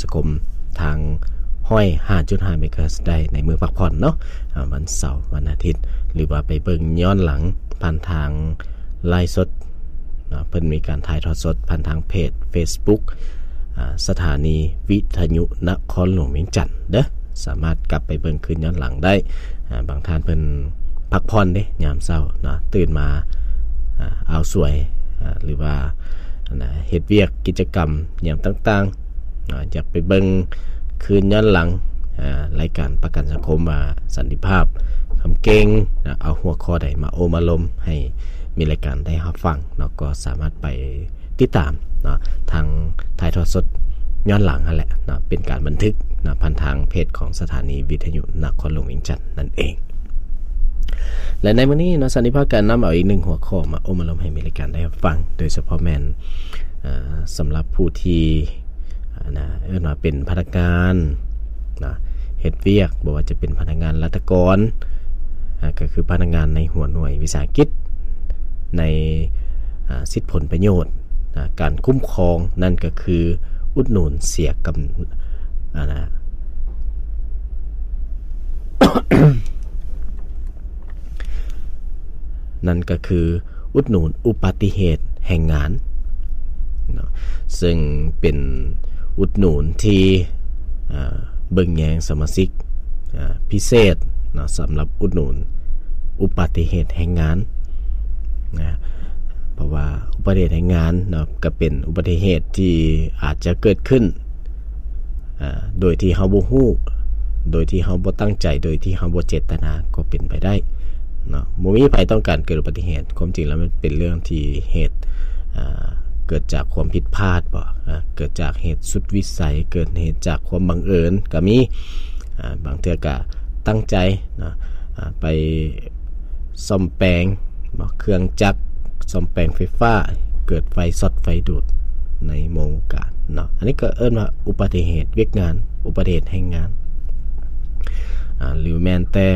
ສະຄົມທາງ ຮ້ອຍຫ້າຈຸດຫ້າ ເມກາເຮີດ ໄດ້ໃນມື້ພັກຜ່ອນເນາະ ອາ ວັນເສົາ ວັນອາທິດ ຫຼືວ່າໄປເບິ່ງຍ້ອນຫຼັງຜ່ານທາງໄລຟ໌ສົດເນາະ ເພິ່ນມີການຖ່າຍທອດສົດຜ່ານທາງເພຈເຟສບຸກ ອາ ສະຖານີວິທະຍຸນະຄອນຫຼວງວຽງຈັນເດີ້ ສາມາດກັບໄປເບິ່ງຄືນຍ້ອນຫຼັງໄດ້ ອາ ບາງທ່ານເພິ່ນພັກຜ່ອນເດ້ ຍາມເຊົ້າເນາະ ຕື່ນມາ ອາ ອ່າວສວຍ ອາ ຫຼືວ່າ ອັນນ່າ ເຮັດວຽກກິດຈະກຳຫຍັງຕ່າງໆ ອາ ຢາກໄປເບິ່ງຄືນຍ້ອນຫຼັງ ອາ ລາຍການປະກັນສັງຄົມວ່າສັນຕິພາບຄຳເກັ່ງ ອາ ເອົາຫົວຂໍ້ໃດມາໂອ້ມາລົມໃຫ້ມີລາຍການໄດ້ຮັບຟັງເນາະ ກໍສາມາດໄປຕິດຕາມເນາະ ທາງຖ່າຍທອດສົດຍ້ອນຫຼັງຫັ້ນແຫຼະເນາະ ເປັນການບັນທຶກເນາະ ຜ່ານທາງເພຈຂອງສະຖານີວິທະຍຸນະຄອນຫຼວງວຽງຈັນນັ້ນເອງ. ແລະ ໃນມື້ນີ້ເນາະ ສັນຕິພາບກະນຳເອົາອີກໜຶ່ງຫົວຂໍ້ມາໂອ້ມາລົມໃຫ້ມີລາຍການໄດ້ຮັບຟັງ ໂດຍສະເພາະແມ່ນ ເອີ ສຳລັບຜູ້ທີ່ ອັນນ່າ ເອີ້ນວ່າເປັນພະນັກງານນະ ເຮັດວຽກ ບໍ່ວ່າຈະເປັນພະນັກງານລັດຖະກອນ ອາ ກໍຄືພະນັກງານໃນຫົວໜ່ວຍວິສາຫະກິດ ໃນ ອາ ສິດຜົນປະໂຫຍດ ອາ ການຄຸ້ມຄອງ ນັ້ນກໍຄືອຸດໜູນເສຍກຳ ອັນນ່າ ນັ້ນກໍຄືອຸດໜູນອຸບັດຕິເຫດແຮງງານເນາະ ເຊິ່ງເປັນອຸດໜູນທີ່ ເອີ ເບິ່ງແຍງສະມາຊິກ ເອີ ພິເສດເນາະ ສຳລັບອຸດໜູນອຸບັດຕິເຫດແຮງງານນະ ເພາະວ່າອຸບັດຕິເຫດແຮງງານເນາະ ກໍເປັນອຸບັດຕິເຫດທີ່ອາດຈະເກີດຂຶ້ນ ອາ ໂດຍທີ່ເຮົາບໍ່ຮູ້ ໂດຍທີ່ເຮົາບໍ່ຕັ້ງໃຈ ໂດຍທີ່ເຮົາບໍ່ເຈດຕະນາກໍເປັນໄປໄດ້ເນາະ ບໍ່ມີໃຜຕ້ອງການເກີດອຸບັດຕິເຫດ ຄວາມຈິງແລ້ວມັນເປັນເລື່ອງທີ່ເຫດ ອາ ເກີດຈາກຄວາມຜິດພາດບໍ ອາ ເກີດຈາກເຫດສຸດວິໄສ ເກີດເຫດຈາກຄວາມບັງເອີນກໍມີ ອາ ບາງເທື່ອກໍຕັ້ງໃຈເນາະ ອາ ໄປ ສ້ອມແປງເນາະ ເຄື່ອງຈັກ ສ້ອມແປງໄຟຟ້າ ເກີດໄຟຊັອດໄຟດູດໃນໂມງການເນາະ ອັນນີ້ກໍເອີ້ນວ່າອຸບັດຕິເຫດວຽກງານ ອຸບັດຕິເຫດແຮງງານ ອາ ຫຼືແມ່ນແຕ່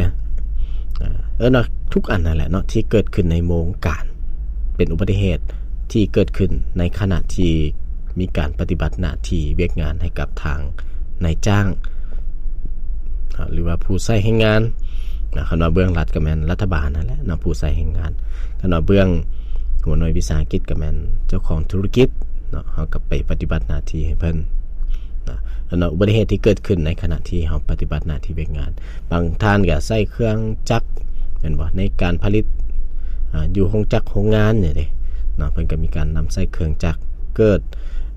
ເອີ້ນວ່າທຸກອັນນັ້ນແຫຼະເນາະ ທີ່ເກີດຂຶ້ນໃນໂມງການ ເປັນອຸບັດຕິເຫດທີ່ເກີດຂຶ້ນໃນຂະນະທີ່ມີການປະຕິບັດໜ້າທີ່ວຽກງານໃຫ້ກັບທາງນາຍຈ້າງ ອາ ຫຼືວ່າຜູ້ໃຊ້ແຮງງານນະ ຄັນວ່າເບື້ອງລັດກໍແມ່ນລັດຖະບານຫັ້ນແຫຼະເນາະ ຜູ້ໃຊ້ແຮງງານ ຄັນວ່າເບື້ອງຫົວໜ່ວຍວິສາຫະກິດກໍແມ່ນເຈົ້າຂອງທຸລະກິດເນາະ ເຮົາກໍໄປປະຕິບັດໜ້າທີ່ໃຫ້ເພິ່ນນະ ອັນນັ້ນອຸບັດຕິເຫດທີ່ເກີດຂຶ້ນໃນຂະນະທີ່ເຮົາປະຕິບັດໜ້າທີ່ວຽກງານ ບາງທ່ານກໍໃຊ້ເຄື່ອງຈັກແມ່ນບໍ່ ໃນການຜະລິດ ອາ ຢູ່ໂຮງຈັກໂຮງງານນີ້ເດ້ເນາະ ເພິ່ນກໍມີການນຳໃຊ້ເຄື່ອງຈັກ ເກີດ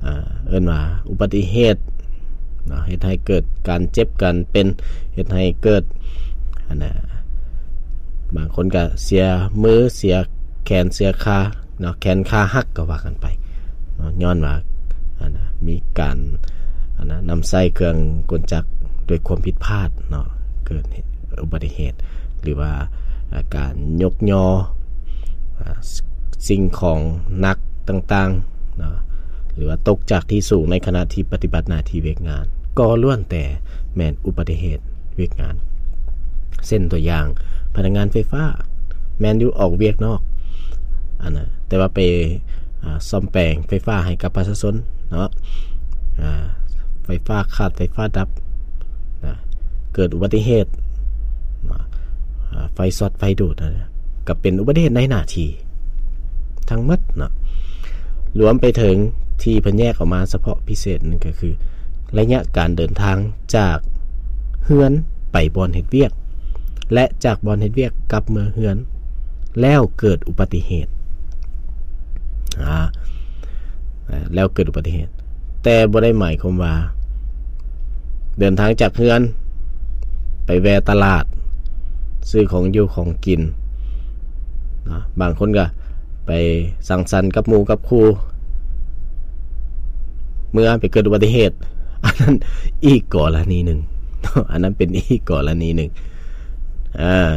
ເອີ ເອີ້ນວ່າອຸບັດຕິເຫດເນາະ ເຮັດໃຫ້ເກີດການເຈັບການເປັນ ເຮັດໃຫ້ເກີດ ອັນນ່າ ບາງຄົນກໍເສຍມື ເສຍແຂນ ເສຍຂາເນາະ ແຂນຂາຫັກກໍວ່າກັນໄປເນາະ ຍ້ອນວ່າ ອັນນ່າ ມີການ ອັນນ່າ ນຳໃຊ້ເຄື່ອງກົນຈັກດ້ວຍຄວາມຜິດພາດເນາະ ເກີດອຸບັດຕິເຫດ ຫຼືວ່າ ອາ ການຍົກຍໍ ອາ ສິ່ງຂອງໜັກຕ່າງໆເນາະ ຫຼືວ່າຕົກຈາກທີ່ສູງໃນຂະນະທີ່ປະຕິບັດໜ້າທີ່ວຽກງານ ກໍລ້ວນແຕ່ແມ່ນອຸບັດຕິເຫດວຽກງານ ເຊັ່ນຕົວຢ່າງ ພະນັກງານໄຟຟ້າ ແມ່ນຢູ່ອອກວຽກນອກ ອັນນ່າ ແຕ່ວ່າໄປ ອາ ສ້ອມແປງໄຟຟ້າໃຫ້ກັບປະຊາຊົນເນາະ ອາ ໄຟຟ້າຂາດ ໄຟຟ້າດັບ ນະ ເກີດອຸບັດຕິເຫດເນາະ ອາ ໄຟຊັອດໄຟດູດ ນະ ກໍເປັນອຸບັດຕິເຫດໃນໜ້າທີ່ທັງໝົດເນາະ ລວມໄປເຖິງທີ່ເພິ່ນແຍກອອກມາສະເພາະພິເສດນັ້ນກໍຄື ໄລຍະການເດີນທາງຈາກເຮືອນໄປບ່ອນເຮັດວຽກ ແລະ ຈາກບ່ອນເຮັດວຽກກັບເມືອເຮືອນ ແລ້ວເກີດອຸບັດຕິເຫດ ອາ ແລ້ວເກີດອຸບັດຕິເຫດ ແຕ່ບໍ່ໄດ້ໝາຍຄວາມວ່າ ເດີນທາງຈາກເຮືອນໄປແວ່ຕະຫຼາດ ຊື້ຂອງຢູ່ຂອງກິນເນາະ ບາງຄົນກໍໄປສັງສັນກັບໝູ່ກັບຄູ່ ເມື່ອໄປເກີດອຸບັດຕິເຫດ ອັນນັ້ນອີກກໍລະນີໜຶ່ງເນາະ ອັນນັ້ນເປັນອີກກໍລະນີໜຶ່ງ ອາ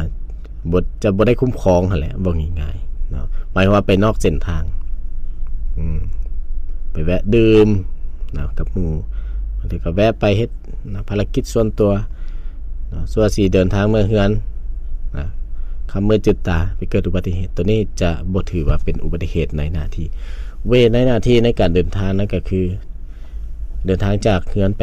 ບໍ່ ຈະບໍ່ໄດ້ຄຸ້ມຄອງຫັ້ນແຫຼະ ເວົ້າງ່າຍໆເນາະ ໝາຍຄວາມວ່າໄປນອກເສັ້ນທາງ ອືມ ໄປແວະດື່ມນະກັບໝູ່ ບາງທີກໍແວະໄປເຮັດນະ ພາລະກິດສ່ວນຕົວນະ ຊົ່ວຊິເດີນທາງເມືອເຮືອນນະ ຄ່ຳມືດຈືດຕາໄປເກີດອຸບັດຕິເຫດ ໂຕນີ້ຈະບໍ່ຖືວ່າເປັນອຸບັດຕິເຫດໃນໜ້າທີ່ ອຸບັດຕິເຫດໃນໜ້າທີ່ໃນການເດີນທາງນັ້ນກໍຄື ເດີນທາງຈາກເຮືອນໄປ